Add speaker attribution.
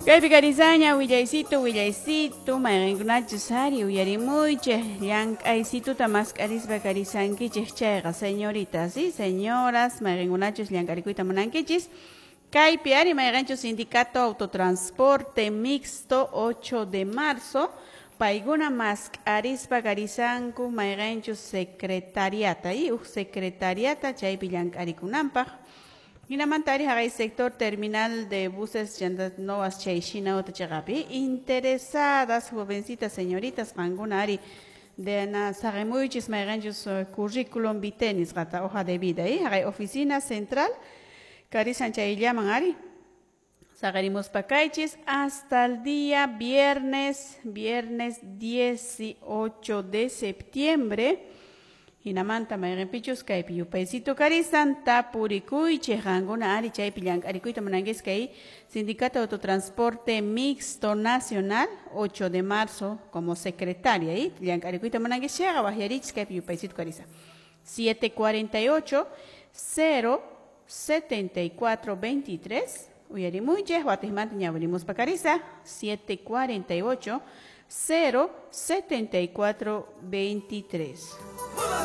Speaker 1: Kaypi karisaña willaysitu willaysitu mayqinkunachus ari uyarimuychik llank'aysituta mask'arispa karisankichik chayqa señoritas y señoras mayqinkunachus llank'arikuyta munankichis kaypi ari mayqinchus sindicato autotransporte mixto 8 de marzo paykuna mask'arispa karisanku mayqinchus secretariata y uj secretariata chaypi llank'arikunanpaq. Hinamanta ari haqay sector terminal de buses novas chay shina chaqapi interesadas jovencitas señoritas qankuna ari de na saqimuychis mayqinchus currículum vitae nisqata hoja de vida y haqay oficina central karisan chayllaman ari saqarimuspa kaychis hasta el día viernes 18 de septiembre. Hinamanta mayqinpichus kaypi yupaysito karisan tapurikuychik qankuna ari chaypi llank'arikuyta munankichis kay Sindicato de Autotransporte Mixto Nacional 8 de marzo como secretaria y llank'arikuyta munankichis chayqa waqyarichis kaypi yupaysito karisan 748 0 74 23 uyarimuychik watijmanta ñawirimuspa karisa 748 0 74 23.